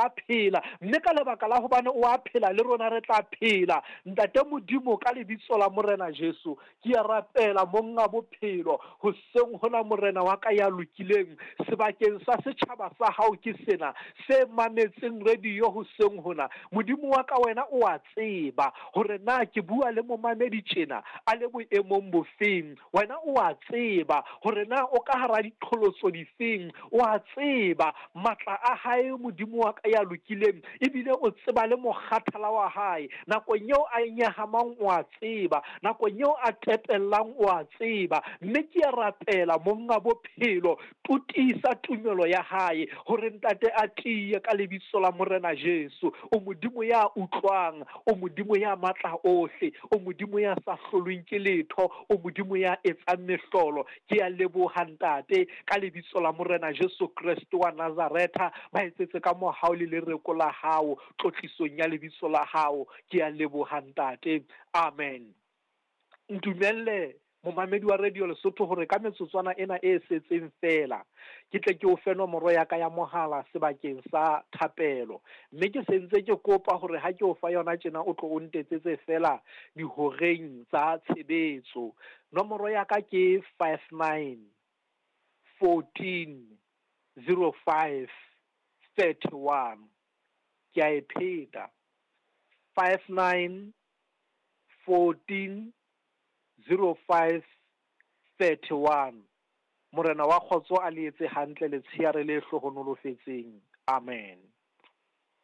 a phela, mme ka lebaka la hobane o a phela le rona re tla phela. Ntate Modimo, ka lebitso la Morena Jesu, ke a rapela Monga bophelo, hoseng hona Morena wa ka ya lokileng, sebakeng sa setjhaba sa hao ke sena, se mametseng radio hoseng hona. Modimo wa ka, wena o a tseba hore na ke bua le momamedi tjena a le boemong bofeng. Wena o a tseba hore na o ka hara diqholotso difeng. O a tseba matla a hae, Modimo wa ka ya lokileng, ebile o tseba le mokgathala wa hae. Nakong eo a nyahamang o a tseba, nakong eo a tepellang o a tseba. Mme ke a rapela Monga bophelo, totisa tumelo ya hae hore Ntate a tiye ka lebitso la Morena Jesu. O Modimo ya utlwang, o Modimo ya matla ohle, o Modimo ya sa hlolweng ke letho, o Modimo ya etsang mehlolo. Ke a leboha Ntate ka lebitso la Morena Jesu Kreste wa Nazaretha. Ba etsetse ka mohau le lereko la hao tlotlisong ya lebitso la hao. Ke a leboha Ntate. Amen. Ntumelle momamedi wa Radio Lesotho hore ka metsotswana ena e setseng feela ke tle ke o fe nomoro ya ka ya mohala sebakeng sa thapelo. Mme ke sentse ke kopa hore ha ke o fa yona tjena o tlo o ntetsetse feela dihoreng tsa tshebetso. Nomoro ya ka ke 59 14 05 31. Ke a e pheta. 59 14 05 31. Morena wa kgotso a le etse hantle letsheare le hlohonolofetseng. Amen.